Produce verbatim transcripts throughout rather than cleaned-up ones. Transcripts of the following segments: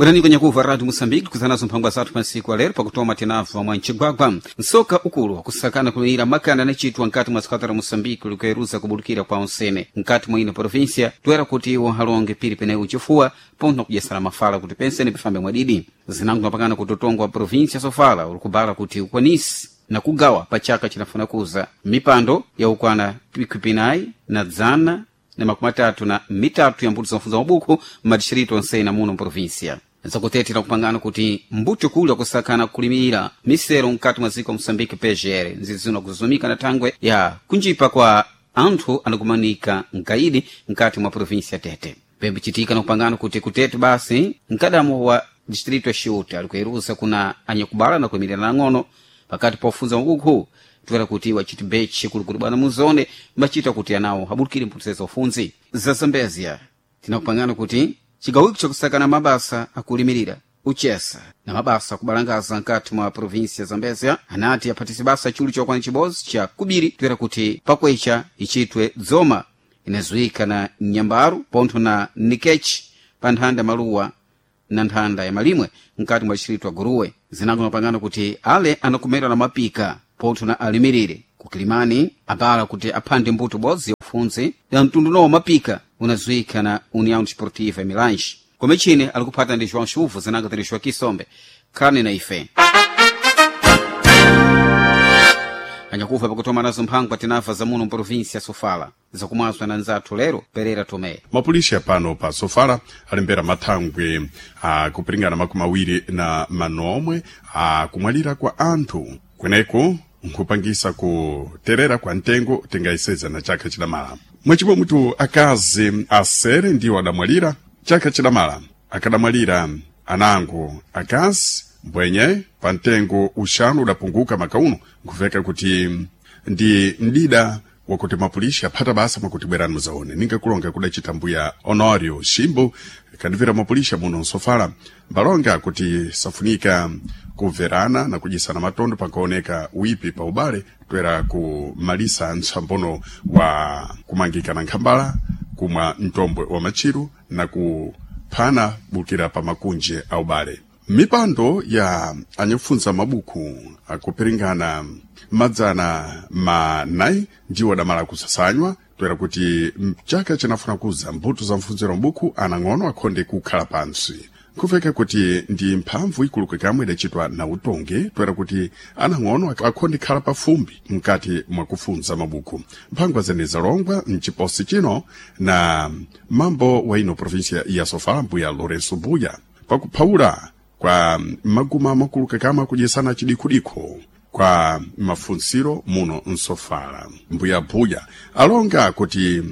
Bwerani kwenye kuva Radio Moçambique kuzanazo mphangwa zathu pansiku alero pakutoma tinabva mwa mcigwagwa nsoka ukulu wakusakana kuliyira makanda anacitwa nkati mwa dzikata la Moçambique likuyeruza kubulukira kwa onsene nkati mwa ino província toera kuti iwo alonge pili penewu chifuwa pontho kudyesana mafala kuti pensene pifambe mwadidi zinango mapangana kuti utongo wa província sofala ulikubala kuti ukwanisi na kugawa pa chaka chinafuna kuza mipando yaukwana pikwi na dzana na makumi atatu na mitatu ya mbuto za mabuku m'madixirito onsene muno mprovinsia zakutetera kupangana kuti mbuto kuli akusakana kulimira misero mkati mwa dziko moçambique pgr nzizino kuzumika na thangwe ya kunjipa kwa anthu anakumanika mkaidi mkati mwa provinsia tete pembichitika na kupangana kuti kutete basi mkadamo wa distrito ya Chiuta alikuyeruza kuna anyakubala na kuyimirira nang'ono pakati pofunza mabuku toera kuti wachiti bechi kulukulu bwana muzone machita kuti anawo abulikire mphunzitsi za ufunzi za zambezia tinakupangana kuti cigawiko chakusakana mabasa akulimirira uchesa na mabasa akubalangaza nkati mwa provinsia zambezia anati aphatise basa chulu chokwana chibodzi cha kubiri toera kuti pakwecha ichitwe dzoma inazuika na nyambaru pontho na nikechi pa nthanda maluwa na nthanda ya malimwe mkati mwa distrito ya guruwe zinango mapangano kuti ale anakumera na mapika pontho na alimirire kukilimani abala kuti aphande mbuto bodzi ya ufunzi ya mtundu nowo mapika unazuika na união desportiva milange komechine alikuphata ndi joão chuvu zinango tiri joão kisombe khani na ife anyakufa pakutoma nazo mphangwa tinafa za muno mprovinsia sofala zakumwazwa na nzathu lero perera tomé mapolisi pano pa sofala alembera mathangwe akupiringana makumi awiri na manomwe akumwalira kwa anthu kweneko nkhupangisa kuterera kwa mtengo tingayiseza na chaka chidamala mwachimwe mutu akazi asere ndiwo adamwalira chaka chidamala akadamwalira anango akazi mbwenye pa mtengo uxanu udapunguka makauno nkuveka kuti ndi mdida wakuti mapulishi aphata basa mwakuti bwerani muzaone ningakulonga kudacita mbuya honorio ximbo kandivira mapulisha muno nsofala mbalonga kuti safunika kumverana na kudyisana matondo pankaoneka wipi pa ubale toera kumalisa ntsambono wa kumangika na nkhambala kumwa mtombwe wa matchiru na kuphana bukira pa makunje a ubale mipando ya anyakufunza mabuku akupiringana madzana manayi ndiwo adamala kusasanywa toera kuti mchaka chinafuna kuza mbuto za mfunziro mbuku anang'ono akhonde kukhala pansi nkuveka kuti ndi mphamvu ikuluka kamwe idacitwa na utongi toera kuti anang'ono akhonde khala pafumbi mkati mwakufunza mabuku mphangwa zene zalongwa mciposi chino na mambo wa ino provinsia ya sofala mbuya lourenço buya pakuphawula kwa maguma makuluka kamwe akudyesana chidikudikho kwa mafunsiro muno nsofala mbuya buya alonga kuti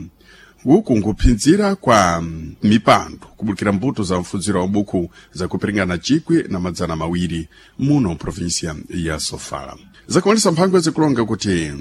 uku nkuphinzira kwa mipando kubukira mbuto za mfunziro wa buku zakupiringana chikwi na madzana mawiri muno mprovinsia ya sofala zakumalisa mphangwa zikulonga kuti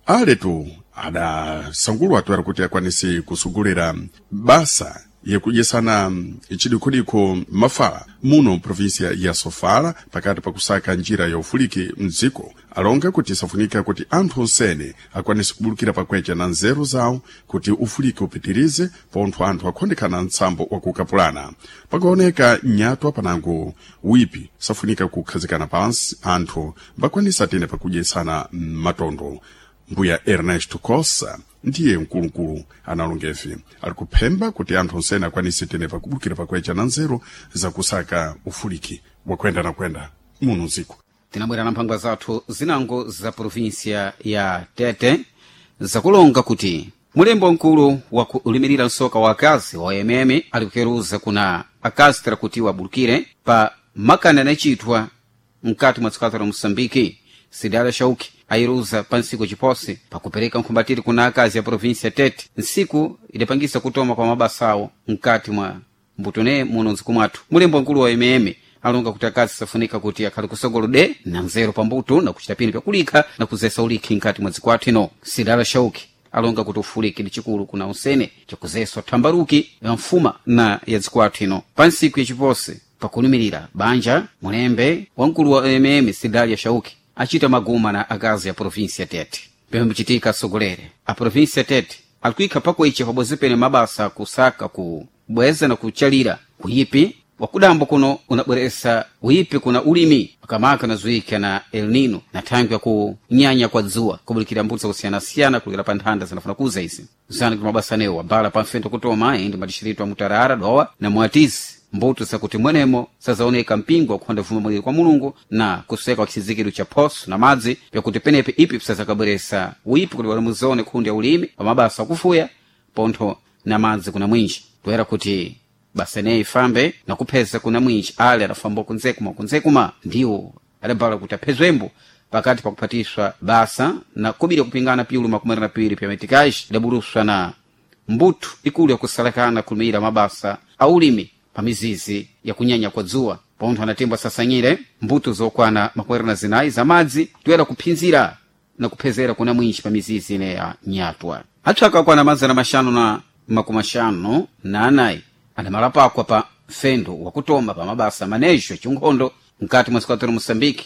aletu adasangulwa toera kuti akwanise kusugulira basa yekudyesana chidikhodikho mafala muno mprovinsia ya sofala pakati pakusaka njira ya ufuliki mdziko alonga kuti safunika kuti anthu onsene akwanise kubulukira pakwecha na nzeru zawo kuti ufuliki upitirize pontho anthu akhondekana mtsambo wakukapulana pakaoneka nyatwa panango wipi safunika kukhazikana pansi anthu mbakwanisa tene pakudyesana matondo mbuya ernesto cossa ndiye mkulukulu analongevi ali kuphemba kuti anthu onsene akwanise tene pakubukira pakwecha na nzeru zakusaka ufuliki wakwenda na kwenda muno mdziko tinabwera na mphangwa zathu zinango za provinsia ya tete zakulonga kuti mulembo mkulu wakulimirira msoka wa akazi wa mm ali kukeruza kuna akazi tera kuti wabulukire pa makani anachitwa mkati mwa dzikata la moçambike sidala shauki ayiruza pa ntsiku ciposi pakupereka nkhumbatiri kuna akazi ya provinsia tete ntsiku idapangisa kutoma kwa mabasa awo mkati mwa mbutune muno mdziko mwathu mulembo mkulu wa mm alonga kuti akazi safunika kuti akhale kusogolo de na nzeru pambuto na kuchita pini pyakulikha na kuzesa ulikhi nkati mwa dziko athu ino sidala shauki alonga kuti ufuliki ndi chikulu kuna usene chakuzeswa thambaruki ya mfuma na ya dziko athu ino pa ntsiku yaciposi pakulumirira banja mulembe wamkulu wa mm sidalia shauki achita maguma na akazi ya provinsia tete pembe asogolere a provinsia tete alikuikha pakuicha pabodzi pene mabasa kusaka kubweza na kuchalira kuyipi Wakudambo kuno unabweresa uipi kuna ulimi makamaka unazuika na El Nino na thangwi ya kunyanya kwa dzuwa kubulikira mbuto zakusiyanasiyana kulikira pa nthanda zinafuna kuza izi zana kuti mabasa anewo abala pa mfendo kutoma indi madixirito a Mutarara, Dowa na Mwatizi, mbuto zakuti mwenemo sazaoneka mpingo wakuhonda vuma mwiri kwa Mulungu na kuseka kwa chizindikiro cha phoso na madzi pyakuti penepe ipi pisazakabweresa uipi kuti walamuzone khundi ya ulimi pa mabasa akufuya pontho na madzi kuna mwinji toera kuti basa ineyi ifambe na kupheza kuna mwinji ale adafamba kunzekuma kunzekuma ndiwo adabala kuti aphezwembo pakati pakuphatiswa basa na kubiri kupingana piulu makumi na piwiri pya metikaji idabuluswa na mbuto ikulu yakusalakana kulumira mabasa a ulimi pa mizizi ya kunyanya kwa dzuwa. Pontho anatimbwa sasanyire mbuto zokwana makumi na zinayi za madzi toera kuphinzira na kuphezera kuna mwinji pa mizizi ine ya nyatwa. Atchaka akwana mazana maxanu na makumi axanu na anayi adamalapakwa pa mfendo wakutoma pa mabasa manejo achinkhondo mkati mwa sikwatero Moçambique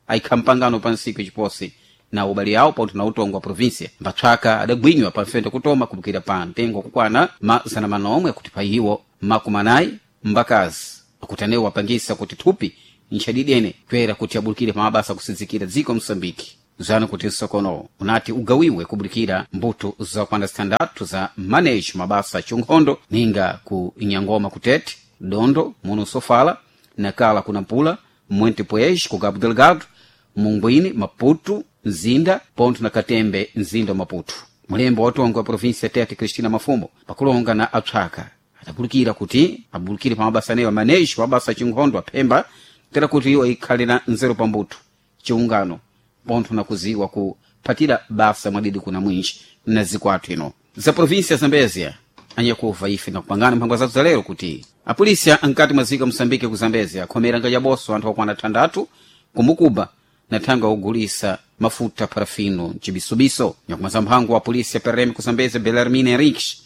aikha mpangano pa ntsiku yaciposi na ubali awo pontho na utongo wa província. Mbatchaka adagwinywa pa mfendo kutoma kubukira pa mtengo kukwana mazana manomwe akuti pa iwo makumi anayi mbakazi akuti anewo apangisa kuti thupi nchadidene toera kuti abulikire pa mabasa akusinzikira dziko Moçambique. Zano kuti msokono unati ugawiwe kubulikira mbuto zakwana zitandatu za manejo mabasa achinkhondo ninga ku Inyangoma kutete, Dondo muno Sofala, Nakala kuna Mpula, Monte Poez ku Cabo Delgado, Munguini, Maputo, Nzinda pontho na Katembe mzinda wa Maputo. Mulembo wa utongo wa província Tete, Cristina Mafumo, pakulonga na atchaka adabulikira kuti abulikire pa mabasa anewo manejo mabasa achinkhondo aphemba tera kuti iwo ikhale na nzeru pambuto chiungano pontho na kuziwa kuphatira basa mwadidi kuna mwinji na zikwathu ino za província Zambezia. Anyakuva ife nakupangana mphangwa zathu za lero kuti apolisi ankati mwa ziko Moçambique ku Zambezia akhomera ngajaboso anthu okwana thandathu kumukuba na thangwi akugulisa mafuta parafino mcibisubiso. Nyakumaza mphango wa polisi ya P R M ku Zambezia, Belarmine Henriques,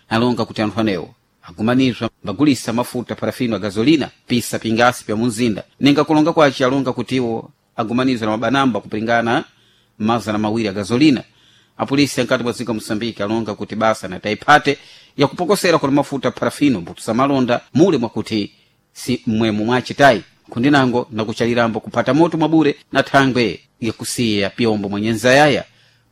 alonga kuti anthu anewo agumanizwa mbagulisa mafuta parafino a gasolina pisa pingasi pya munzinda. Ninga kulonga kwace alonga kuti iwo agumanizwa na mabanamba kupingana mazana mawiri a gasolina. Apolisi ankati mwa dziko Moçambique alonga kuti basa na taiphate yakupokosera kuti mafuta parafino mbuto za malonda mule mwakuti si mmwemo mwacitayi kundinango nakuchalirambo kuphata moto mwabure na thangwe yakusiya pyombo mwa nyenzayaya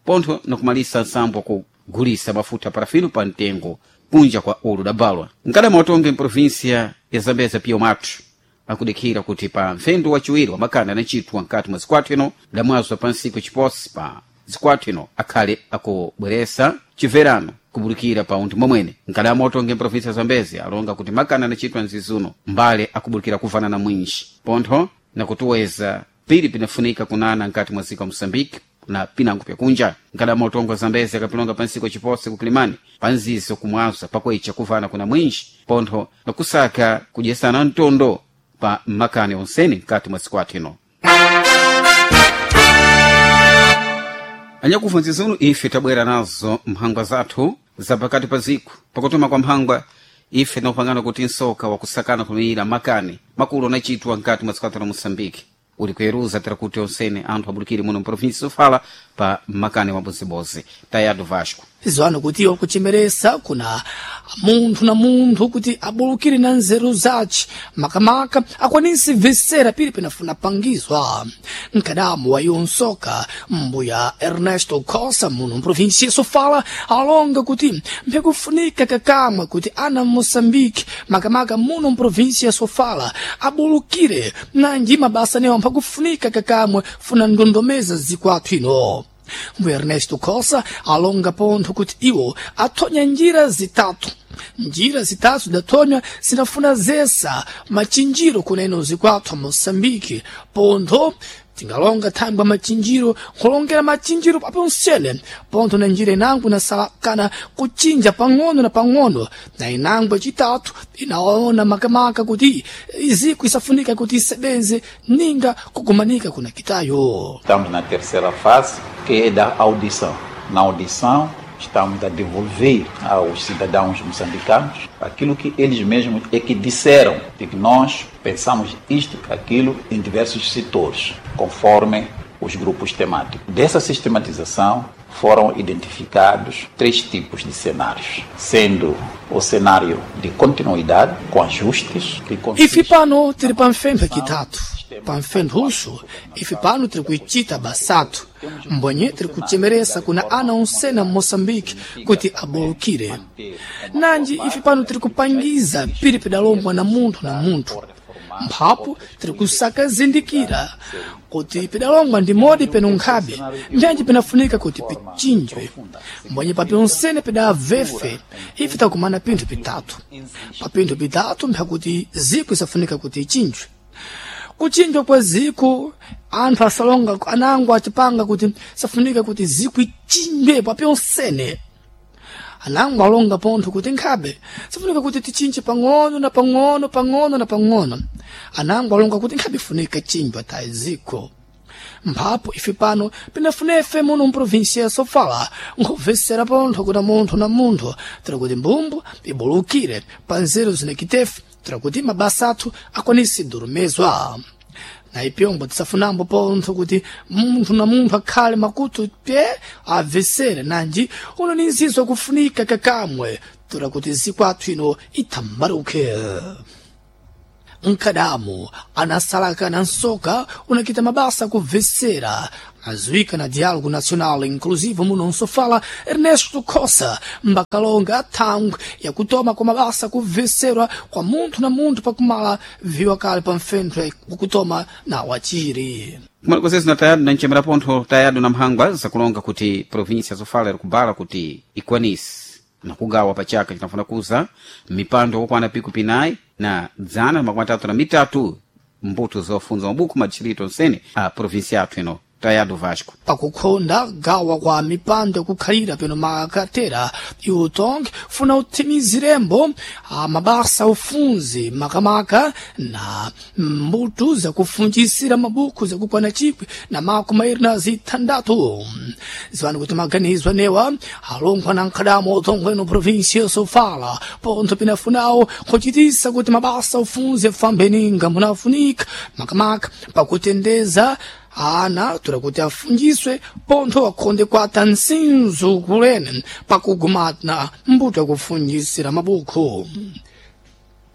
pontho nakumalisa nsambo kugulisa mafuta parafino pa mtengo kunja kwa ulu dabalwa. Nkadama watonge mprovinsia ya Zambeza pio mathu akudikhira kuti pa mfendo wachiwiri wamakanda anacitwa mkati mwa zikwathu ino damwazwa pa ntsiku chiposi pa zikwathu ino akhale akubweresa chimverano kubulikira pa unthu momwene. Nkadama watonge mprovinsia ya Zambezi alonga kuti makanda anacitwa mzizuno mbale akubulikira kuvanana mwinji pontho nakutuweza pili pinafunika kunana nkati mwa dziko Moçambique na pinango pyakunja. Nkadama utongo wa Zambezi akapilonga pa ntsiku yaciposi kukilimani pa nzizo kumwaza pakwecha kuvana kuna mwinji pontho nakusaka kudyesana mtondo pa makani onsene mkati mwa siku ino. Anyakufa nzizuno ife tabwera nazo mphangwa zathu za pakati pa ziku. Pakutuma kwa mphangwa ife tinakupangana kuti nsoka wakusakana kulumira makani makulu anacitwa mkati mwa siku la Moçambique uli kuyeruza tera kuti onsene anthu abulikire muno mprovinsi Sofala pa makani wabozibozi. Tayado Vasco Zwano kuti iwo kuchemeresa kuna munthu na munthu kuti abulukire na nzeru zace makamaka akwanise vesera pili penafuna pangizwa. Mkadamu wa iwo nsoka mbuya Ernesto Costa muno mprovinsia Sofala alonga kuti mpekufunika kakamwe kuti ana Moçambique makamaka muno mprovinsia Sofala abulukire nanji mabasa newo mphakufunika kakamwe funa ndondomeza zikwathu ino. Mbuya Ernesto Costa alonga pontho kuti iwo athonya njira zitatu. Njira zitatu zidathonywa zinafuna zesa machinjiro kuneno zikwathu a Moçambique pontho tingalonga thangwi machinjiro nkulongera machinjiro paponsene pontho na njira inango inasalakana kuchinja pang'ono na pang'ono na inango yacitatu inaona makamaka kuti iziko isafunika kuti isebenze ninga kugumanika kuna kitayo. Estamos na terceira fase, que é da audição. Na audição, estamos a devolver aos cidadãos moçambicanos aquilo que eles mesmos é que disseram, de que nós pensamos isto, aquilo, em diversos setores, conforme os grupos temáticos. Dessa sistematização, Foram identificados três tipos de cenários, sendo o cenário de continuidade, com ajustes, que consiste... Ife pano tiri pamfentho kitatu, pamfentho uxo, ife pano tiri kuicita basatu, mbonye tiri kuchemeresa kuna ana onsena m'Moçambique kuti abolukire. Nanji ife pano tiri kupangiza piri pidalombwa na munthu na munthu. Mphapo tiri kusakazindikira kuti pidalongwa ndi modi peno nkhabe, mbyanji pinafunika kuti pichinjwe. Mbonye papi onsene pidavefe, ife takumana pinthu pitatu. Pa pinthu pitatu mphakuti ziko isafunika kuti ichinjwe. Kuchinjwa kwa ziko anthu asalonga anango achipanga kuti safunika kuti ziko ichinjwe papi onsene. Anango alonga pontho kuti nkhabe sifunika kuti tichinje pang'ono na pang'ono pang'ono na pang'ono. Anango alonga kuti nkhabe ifunika chinjwa tayi ziko. Mphapo ife pano pinafunefe muno mprovinsia ya Sofala nkubvesera pontho kuna munthu na munthu tira kuti mbumbu ibulukire pa nzeru zinakitefe tira kuti mabasa athu akwanise durumezwa. Na ipyombo tisafunambo pontho kuti munthu na munthu akhale makutu pye abvesere nanji uno ni nzizo kufunika kakamwe tura kuti ziko athu ino itambaruke. Nkadamu anasalaka na nsoka unakita mabasa kubvesera azuika na Diálogo Nacional Inclusivo muno nsofala Ernesto Cossa mbakalonga thangwe yakutoma kwa mabasa kubveserwa kwa munthu na munthu pakumala viwa kale pa mfentho wakutoma na wachiri. Kumene konsezi na tayadu na nchemera pontho tayadu na mphangwa zakulonga kuti província Sofala iri kubala kuti ikwanise na kugawa pa chaka cinafuna kuza mipando okwana piku pinayi na dzana na makumi atatu na mitatu mbuto zofunza mabuku madistrito onsene a província yathu ino. Tayadu Vasco pakukhonda gawa kwa mipando yakukhalira peno makatera iutongi funa uthimizirembo mabasa ufunzi makamaka na mbuto zakufunjisira mabuku zakukwana chikwi na makumi airi na zithandatu. Ziwani kuti maganizo anewa alonkhwa na nkhadamo utongwe no província Sofala pontho pinafunawo kuchitisa kuti mabasa ufunzi afambe ninga munafunika makamaka pakutendeza ana tura kuti afunjiswe pontho akhonde kwata nsinzu kulene pakugumana mbuto yakufunjisira mabuku.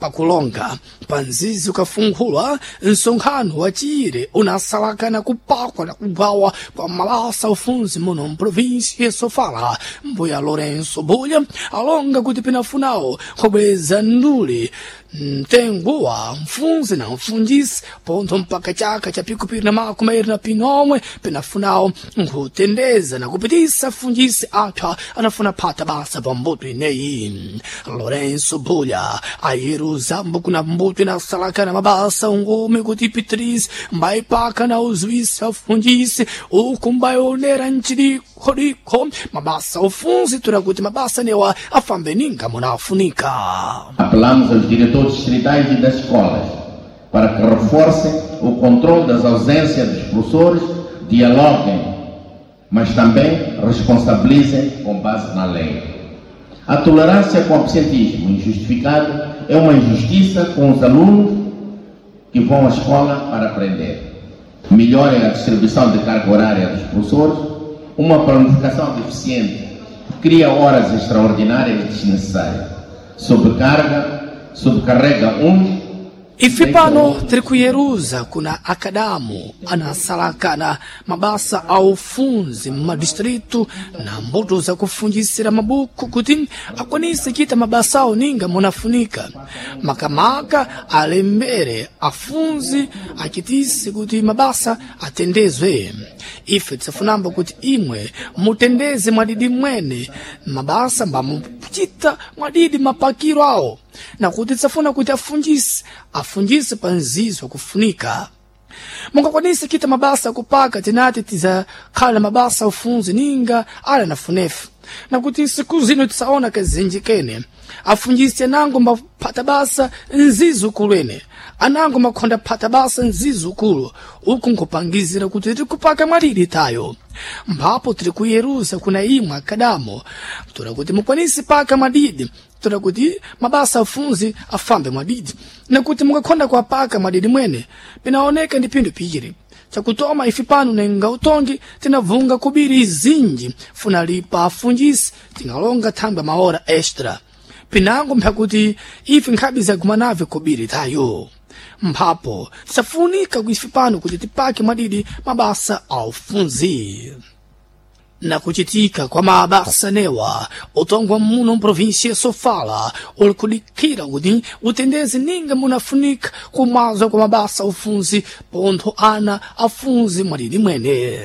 Pakulonga panzizi ukafunkhulwa msonkhano wachire unasalakana kupakwa na kugawa kwa mabasa ufunzi muno mprovinsi ya Sofala. Mbuya Lourenço Bulha alonga kuti pinafunawo kubweza nduli mtengo wa mfunzi na mfunjisi pontho mpaka chaka cha pikupiri na makumi airi na pinomwe pinafunawo nkutendeza na kupitisa funjisi apha anafuna phata basa pa mbuto ineyi. Lourenço Bulha ayiruza kuna mbuto inasalaka na mabasa ungome kuti pitris mbaipaka na uzuisa funjisi uku mbaionera nchidikhodikho mabasa ufunzi tura kuti mabasa newa afambe ninga munafunika. Apelamos aos diretores distritais e das escolas para que reforcem o controle das ausências dos professores, dialoguem, mas também responsabilizem com base na lei. A tolerância com o absentismo injustificado é uma injustiça com os alunos que vão à escola para aprender. Melhorem a distribuição de carga horária dos professores, uma planificação deficiente cria horas extraordinárias desnecessárias, sobrecarga, sobrecarrega uns. Ife pano tiri kuyeruza kuna akadamu anasalakana mabasa a ufunzi m'madistritu na mbuto zakufunjisira mabuku kuti akwanise chita mabasa awo ninga munafunika. Makamaka alembere afunzi achitise kuti mabasa atendezwe. Ife tisafunamba kuti imwe mutendeze mwadidi mwene mabasa mbamuchita mwadidi mapakiro awo, na kuti tisafuna kuti afunjise afunjise pa nzizo kufunika. Mungakwanise kita mabasa kupaka tinati tizakhala mabasa ufunzi ninga ala nafunefu, na kuti nsiku zino tisaona kazinji kene afunjise anango maphata basa nzizukulu ene anango makhonda phata basa nzizukulu uku nkupangizira kuti tikupaka mwalili tayo. Mphapo tiri kuyeruza kuna imwe akadamo tora kuti mukwanise paka mwadidi tora kuti mabasa afunzi afambe mwadidi, na kuti mukakhonda kuapaka mwadidi mwene pinaoneka ndi pinthu piri. Chakutoma ife pano nenga utongi tinavunga kubiri zinji funa lipa afunjisi tingalonga thangwe maora extra pinango mphakuti ife nkhabe zagumanave kubiri tayo mphapo tisafunika ife pano kuti tipake mwadidi mabasa a ufunzi. Nakuchitika kwa mabasa newa utongwa muno mprovinsia Sofala uli kudikira kuti utendeze ninga munafunika kumazwa kwa mabasa ufunzi pontho ana afunzi mwadidi mwene.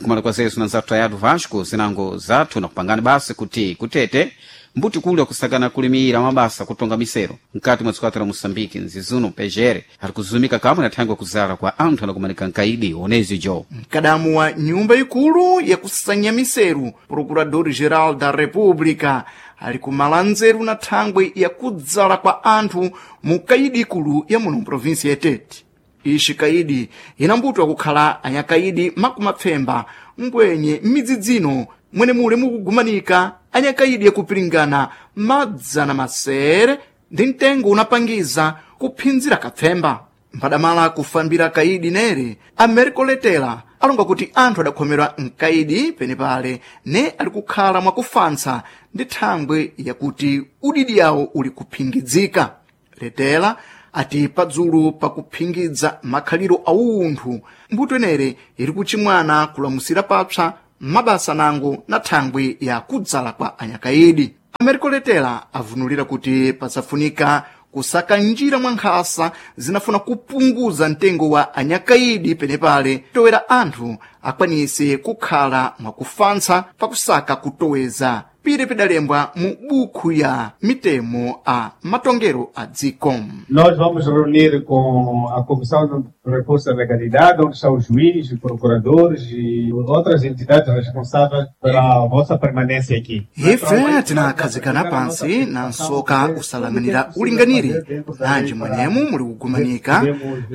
Kumala kwa zesu na nzathu ayatu Vasco zinango zathu nakupangani basi kuti kutete mbuti kuli akusakana kulimira mabasa kutonga misero mkati mwa dziko la Moçambique nzizuno pejere ari kuzumika kamwe na thangwe kuzala kwa anthu anakumanika nkaidi onezi jo. Mkadamu wa nyumba ikulu yakusanya miseru Procurador-Geral da República ali kumala nzeru na thangwe yakudzala kwa anthu mu kaidi ikulu ya muno mprovinsi ya Tete. Ixi kaidi inambutwa kukhala anyakaidi makumapfemba mbwenye m'midzidzino mwene mule mukugumanika anyakaidi yakupiringana madzana masere ndi mtengo unapangiza kuphinzira kapfemba. Mphadamala kufambira kaidi nere Americo Letela alonga kuti anthu adakhomerwa mkaidi penepale ne ali kukhala mwakufansa ndi thangwe yakuti udidi yawo uli kuphingidzika. Letela ati padzulu pakuphingidza makhaliro a unthu mbuto enere iri kuchimwana kulamusira papsa mabasa nango na thangwe ya kudzala kwa anyakaidi. Americo Letela avunulira kuti pasafunika kusaka njira mwa nkhasa zinafuna kupunguza mtengo wa anyakaidi penepale towera anthu akwanise kukhala mwakufansa pakusaka kutoweza pire pidalembwa mu bukhu ya mitemo a matongero a dziko. Nós vamos reunir com a Comissão de Reforço da Legalidade, onde estão os juízes, procuradores e outras entidades responsáveis pela vossa permanência aqui. Ife tinakhazikana pansi na nsoka usalanganira ulinganire nanji mwenemu muli kugumanika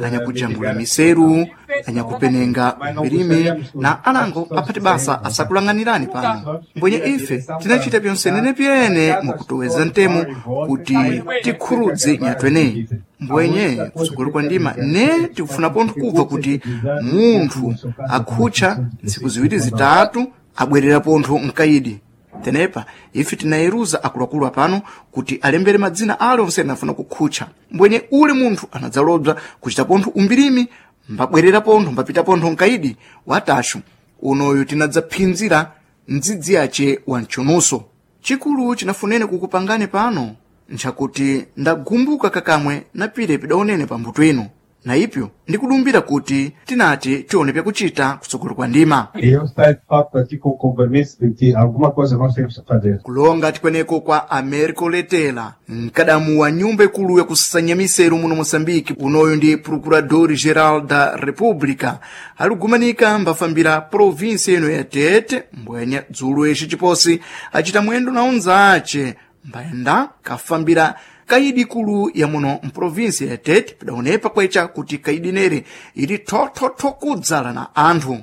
anyakujambula miseru, anyakupenenga milime na anango aphati basa asakulanganirani pano. Mbwenye ife tinachita pyonsenene pyene mukutoweza ntemo kuti tikhurudze nyatweneyi. Mbwenye kutsogolo kwa ndima ne tikufuna pontho kubva kuti munthu akhutcha ntsiku ziwiri zitatu abwerera pontho mkaidi. Tenepa ife tinayeruza akuluakulu apano kuti alembere madzina ale onse anafuna kukhutcha. Mbwenye ule munthu anadzalobza kuchita pontho umbirimi mbabwerera pontho mbapita pontho mkaidi watashu unoyu tinadzaphinzira mdzidzi yace wa mchunuso. Chikulu chinafunene kukupangani pano nchakuti ndagumbuka kakamwe na pire pidaonene pambuto ino na ipyo ndikudumbira kuti tinati tione pyakuchita kutsogolo kwa ndima. E eu estou, de facto, aqui com o compromisso de que alguma coisa nós temos que fazer. Kulonga tikweneko kwa Americo Letela mkadamu wa nyumba ikulu yakusanya miseru muno Moçambique unoyu ndi Procurador-Geral da República aligumanika mbafambira provinsi ino ya Tete mbwenya dzulo ixi chiposi acita mwendo na unzace mbayenda kafambira kaidi ikulu ya muno mprovinsi ya Tete pidaonepa kwecha kuti kaidi nere ili thothotho kudzala na anthu.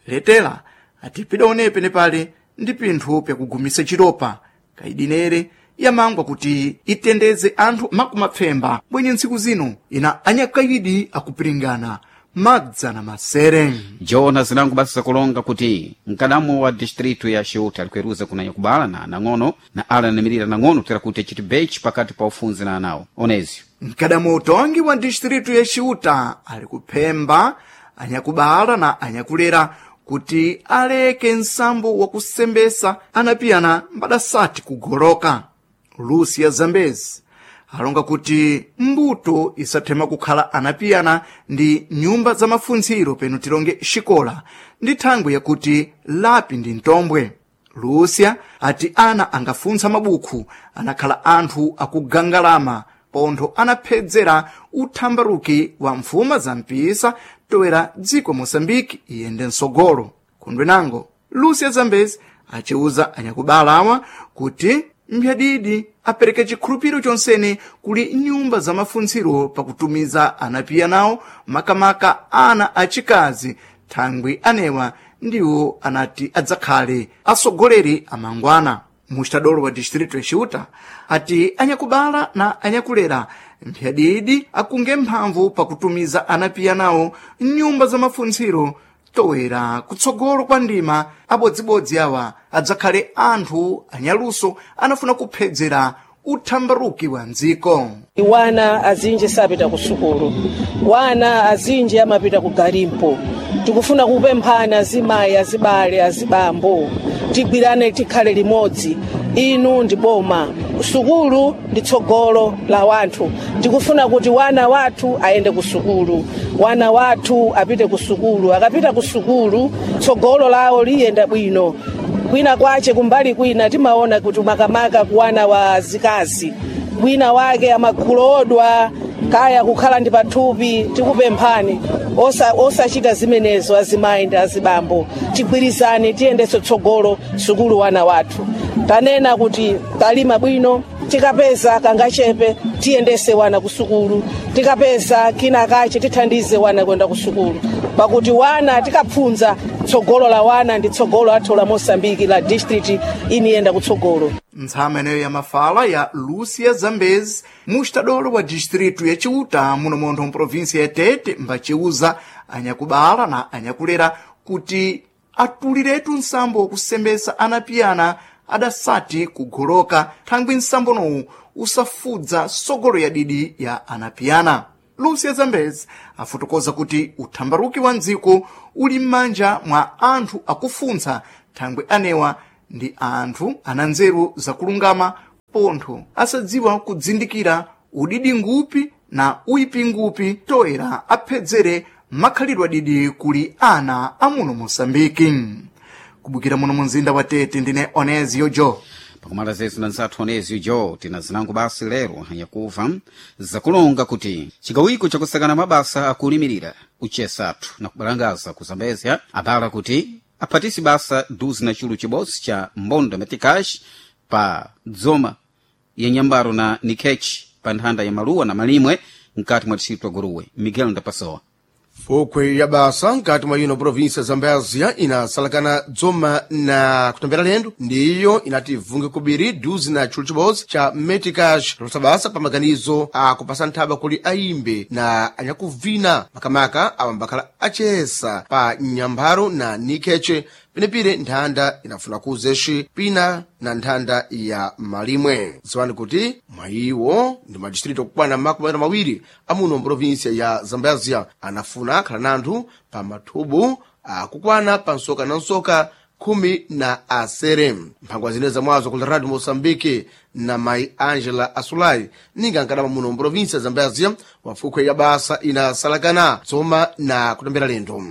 Letela ati pidaonepe nepale ndi pinthu pyakugumisa chiropa kaidi nere yamangwa kuti itendeze anthu makumapfemba bwenye ntsiku zino ina anyakaidi akupiringana madzana masere. Jona zinango basi zakulonga kuti mkadamu wa distritu ya Xiuta alikueruza kunanya kubala na nang'ono na ala anamirira nang'ono kutera kuti achiti bechi pakati pa ufunzi na anawo onezi. Mkadamu utongi wa distritu ya Xiuta ali kuphemba anyakubala na anyakulera kuti aleke nsambo wakusembesa anapiyana mbadasati kugoloka. Lucia Zambezi alonga kuti mbuto isathema kukhala anapiyana ndi nyumba za mafuntsiro peno tilonge xikola ndi thangwe yakuti lapi ndi ntombwe. Lucia ati ana angafuntsa mabukhu anakhala anthu akugangalama pontho anaphedzera uthambaruki wa mfuma za mpisa toera dziko Moçambique iyende msogolo. Kundwe nango Lucia Zambezi aciuza anyakubala awa kuti mbyadidi apereke chikhulupiro chonsene kuli nyumba za mafuntsiro pakutumiza anapiya nawo makamaka ana achikazi thangwi anewa ndiwo anati adzakhale atsogoleri amangwana. Mustadolo wa distrito ya Xiuta ati anyakubala na anyakulera Mphyadidi akunge mphamvu pakutumiza anapiya nawo mnyumba za mafuntsiro towera kutsogolo kwa ndima abodzibodzi awa adzakhale anthu anyaluso anafuna kuphedzera uthambaruki wa mdziko. Wana azinji sapita ku sukulu, wana azinji amapita ku galimpo. Tikufuna kupemphana azimayi, azibale, azibambo, tigwirane tikhale limodzi. Inu ndi boma, sukulu ndi tsogolo la wanthu. Tikufuna kuti wana wathu ayende ku sukulu, wana wathu apite ku sukulu. Akapita ku sukulu tsogolo lawo liyenda bwino. Kwina kwache kumbali kwina timaona kuti makamaka kuwana wa zikazi wina wake amakhulodwa kaya kukhala ndi pathupi. Tikupemphani osachita osa zimenezo, azimayi ndi azibambo, tigwirizane tiyendetse tsogolo sukulu wana wathu. Tanena kuti talima bwino, tikapeza kangachepe tiyendese wana ku sukulu, tikapeza kina kache tithandize wana kwenda ku sukulu, pakuti wana tikapfunza tsogolo la wana ndi tsogolo athu la Mosambiki la district iniyenda kutsogolo. Ntsama ineyo ya mafala ya Lúcia Zambezi, mustadolo wa distritu ya Chiuta muno montho mprovinsia ya Tete, mbaciuza anyakubala na anyakulera kuti atuliretu nsambo wakusembesa anapiyana adasati kugoloka thangwi nsambonowu usafudza sogolo ya didi ya anapiyana. Lúcia Zambezi afotokoza kuti uthambaruki wa mdziko uli m'manja mwa anthu akufuntsa thangwi anewa ndi anthu ana nzeru zakulungama pontho asadziwa kudzindikira udidi ngupi na uyipi ngupi toera aphedzere makhalidwe adidi kuli ana amuno Mosambiki. Kubukira muno mumzinda wa Tete, ndine Onezio Jo. Pakumala zetu na nzathu Onezio Jo, tina zinango basi lero yakuva zakulonga kuti chigawiko chakusakana mabasa akulimirira uchesathu na kubalangaza ku Zambezia abala kuti aphatisi basa duzi na chulu chibodzi cha mbondo metikash pa dzoma ya nyambaro na nikechi pa nthanda ya maluwa na malimwe mkati mwa distritu ya Guruwe. Miguel Ndapasowa. Fukwe ya basa nkati mwa ino província Zambézia inasalakana dzoma na kutambira lendo ndiyo inati vunge kubiri duzi na chulu chibodzi cha meticash losa basa pa maganizo akupasa nthaba kuli ayimbe na anyakuvina makamaka awambakhala achesa pa nyampharo na nikheche penepire nthanda inafuna kuzeshi pina na nthanda ya malimwe. Dziwani kuti mwayiwo ndi madistrito okwana makumi atatu mawiri amuno mprovinsia ya Zambézia anafuna akhala nanthu pa mathubu akukwana pa nsoka na nsoka khumi na asere. Mphangwa zine zamwazo ku Radio Moçambique na mayi Angela Asulai ninga nkadama muno mprovinsia ya Zambézia wafukwe ya basa inasalakana dzoma na kutambira lendo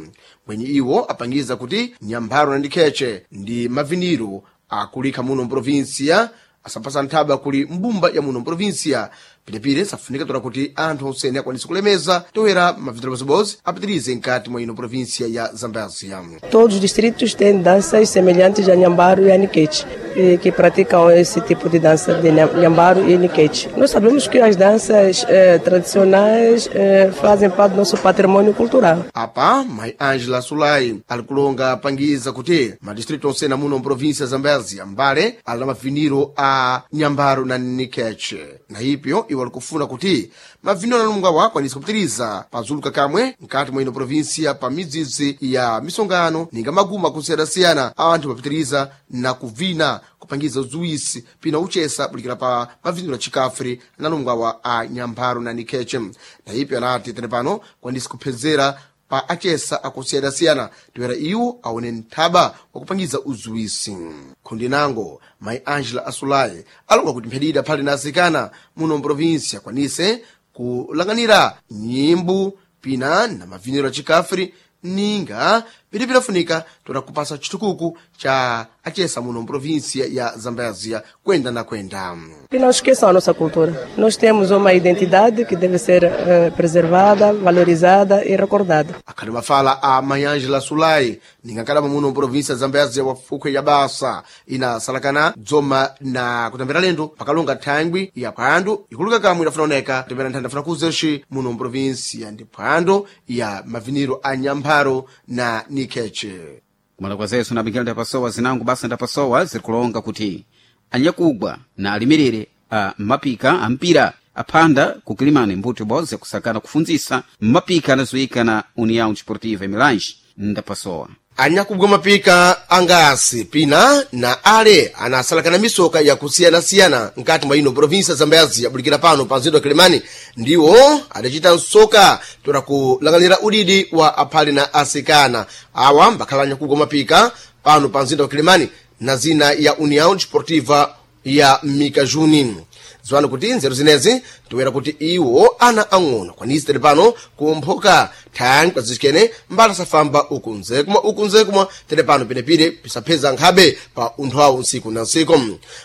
mwenye iwo apangiza kuti nyampharo na ndikheche ndi maviniro akulikha muno mprovinsia asapasa nthaba kuli mbumba ya muno mprovinsia. Pilepile safunika tola kuti anthu onsene akwanise kulemeza toera maviniro bozibodzi apitirize nkati mwa ino província ya Zambézia. Todos os distritos têm danças semelhantes a Nhambaro e a Niquete, e que praticam esse tipo de dança de Nhambaro e Niquete. Nós sabemos que as danças eh, tradicionais eh, fazem parte do nosso patrimônio cultural. Apa, mai Angela Sulai alikulonga apangiza kuti madistritu onsene muno mprovinsia ya Zambézia mbale ali na maviniro a Nhambaro na Niquete. Na ipyo iwo alikufuna kuti maviniro analunga akwanise kupitiriza pazuluka kamwe nkati mwa ino provinsia pa midzidzi ya misongano ninga maguma akusiyana-siyana anthu mapitiriza na kuvina kupangiza udziwisi pina uchesa bulikira pa maviniro achikafri analungwawa a Nyampharo na Nikheche. Na ipyo anati tene pano kwanise kuphedzera pa achesa akusiyana-siyana toera iwo aone nthaba wakupangiza uziwisi. Khundi nango mayi Angela Asulai alonga kuti mphedida phali na asikana muno mprovinsia akwanise kulanganira nyimbo pina na maviniro achikafri ninga pili pilafunika toda kupasa chitukuku cha achesa muno mprovinsia ya Zambézia kwenda na kwenda. E não esqueçam a nossa cultura. Nós temos uma identidade que deve ser eh, preservada, valorizada e recordada. Akhali mafala a Mayangela Sulai ningakalama muno mprovinsia ya Zambézia wafukwe ya basa inasalakana dzoma na kutambira lendo pakalonga thangwi ya phwando ikuluka kamwe idafuna oneka kutambira nthanda afuna kuzeshi muno mprovinsia ndi phwando ya maviniro a Nyampharo na Nikheche. Kumala kwa zesu na Miguel Ndapasowa zinango basa Ndapasowa zirikulonga kuti anyakugwa na alimirire a mapika a mpira aphanda kukilimani mbuto ibodzi yakusakana kufundzisa mapika anazoyika na União Desportiva Milange ndapasowa. Anyakubwa mapika angasi pina na ale anasalakana misoka yakusiyanasiyana nkati mwa ino provinsa Zambezi yabulikira pano pa mzinda wa Kilimani ndiwo adacita msoka tola kulang'anira udidi wa aphale na asikana awa mbakhala anyakubwa mapika pano pa mzinda wa Kilimani na zina ya União Desportiva ya Mikajuni. Ziwani kuti nzeru zinezi tiwera kuti iwo ana ang'ono kwanisi tili pano kumphoka thangwi kwazicikene mbala safamba uku nzekumwa uku nzekumwa tili pano pinepire pisapheza nkhabe pa unthu awo ntsiku na ntsiku.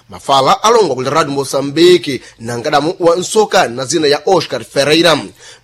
Mafala alongwa kuli Radio Moçambique na nkadamu wa nsoka na zina ya Oscar Ferreira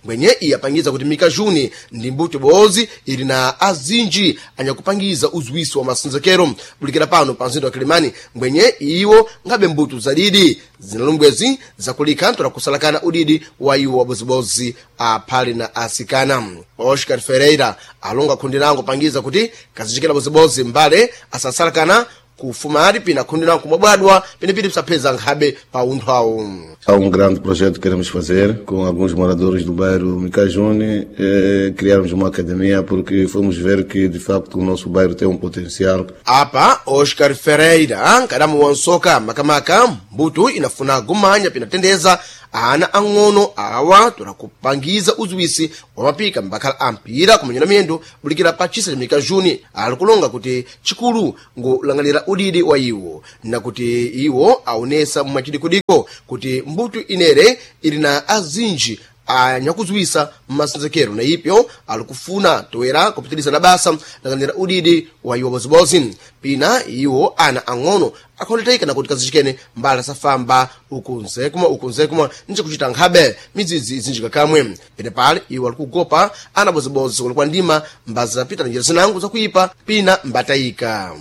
ngwenye iye apangiza kuti Mikajuni ndi mbuto bozi ili na azinji anyakupangiza uziwiso wa masinzekero bulikira pano pa mzinda wa Kilimani ngwenye iwo ngabe mbuto zadidi zinalumbwezi zakulika ntola kusalakana udidi wa iwo wabozibozi aphale na asikana. Oscar Ferreira alonga khundi lango pangiza kuti kazichikira bozibozi mbale asasalakana kufumali pina khundi lango kumabwadwa pinepiti pisapheza nkhabe pa unthu awo. Há um grande projeto que queremos fazer com alguns moradores do bairro Micajune, eh, criarmos uma academia porque fomos ver que de facto o nosso bairro tem um potencial. Apa Oscar Ferreira nkadamu wa nsoka makamaka mbuto inafuna gumanya pinatendeza ana ang'ono awa tola kupangiza uziwisi wa mapika mbakhala ampira kumenyera miyendo bulikira pa chisa cha Mikajuni ali kulonga kuti chikulu ngulang'anira udidi wa iwo na kuti iwo aonesa mwachidikudiko kuti mbuto inere ili na azinji anyakuziwisa mmasinzekero na ipyo ali kufuna toera kupitiliza na basa lang'anira udidi wa iwo bozibozi pina iwo ana ang'ono akhoneteka na kuti kazichikene mbala safamba uku nzekumwa uku nzekumwa nje kuchita nkhabe midzidzi izinjika kamwe pene pale iwo ali kugopa ana bozibozi kulikwa ndima mbazapita na njira zinango zakuipa pina mbatayika.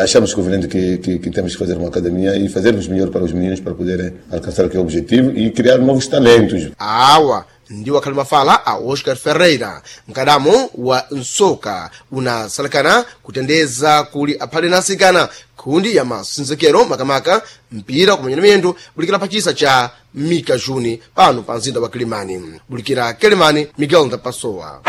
Achamos conveniente que, que, que temos que fazer uma academia e fazermos melhor para os meninos para poderem alcançar aquele objetivo e criar novos talentos. Awa ndiwo akhali mafala a Oscar Ferreira mkadamo wa nsoka unasalakana kutendeza kuli aphale na asikana khundi ya masinzekero makamaka mpira kumenyana miyendo bulikira pachisa cha Mikajuni pano pa mzinda wa Kilimani. Bulikira Kilimani, Miguel Ndapasowa.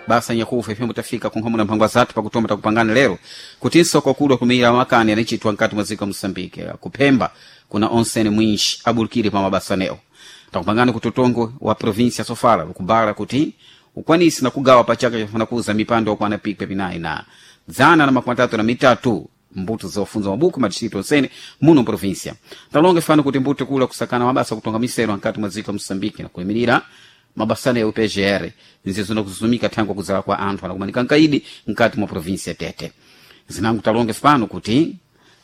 Basa nyakufa ifembo tafika kunkhomo na mphangwa zathu pakutoma takupangana lero kuti nsoko wakulu wakumira makani anachitwa nkati mwa dziko la Moçambique kuphemba kuna onsene mwinji abulikire pa mabasa newo. Takupangana kuti utongo wa província ya Sofala ukubala kuti ukwanisi na kugawa pa chaka chafuna kuza mipando okwana pikwe pinayi na dzana na makumi atatu na mitatu mbuto zofunza mabuku madistrito onsene muno província. Talonga ifano kuti mbuto kula kusakana mabasa kutonga misero ankati mwa dziko la Moçambique na kuyimirira mabasana ya U P G R nzizo kuzumika thangwa kuzala kwa anthu anakumanika nkaidi nkati mwa província Tete. Zinangu talonge fano kuti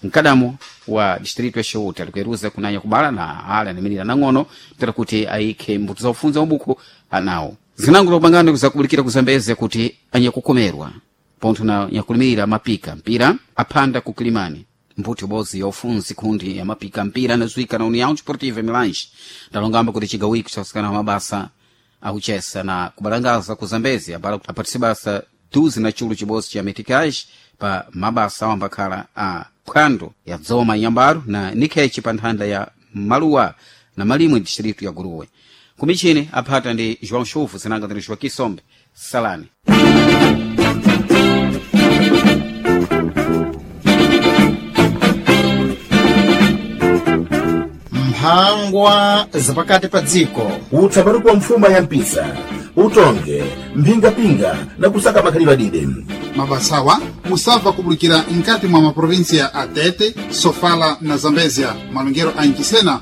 mkadamo wa distrito ya Sheuta alikueruza kunanya kubala na ala anamirira nang'ono tera kuti ayikhe mbuto zakufunza mabuku anawo. Zinangu takupangana zakubulikira kuzambeze kuti anyakukomerwa pontho na nyakulimirira mapika mpira aphanda ku Kilimani mbuto ibodzi ya ufunzi khundi ya mapika mpira anazuika na União Desportiva Milange. Ndalongamba kuti chigawiko chakusikana mabasa akuchesa na kubalangaza ku Zambezi abala apatise basa duzi na chulu chibodzi cha meticage pa mabasa awo ambakhala a phwando ya dzoma nyambaro na nikhechi pa nthanda ya maluwa na malimwe distrito ya Guruwe. Kumichini aphata ndi João Chuvu zinanga ndi Joaquim Sombe. Salani. Mphangwa zapakati pa dziko. Utsapatu kwa mfuma ya mpisa utonge mphingapinga na kusaka makhalidwe adide. Mabasawa musabva kubulikira nkati mwa maprovinsia a Tete, Sofala na Zambezia malongero a Inchisena.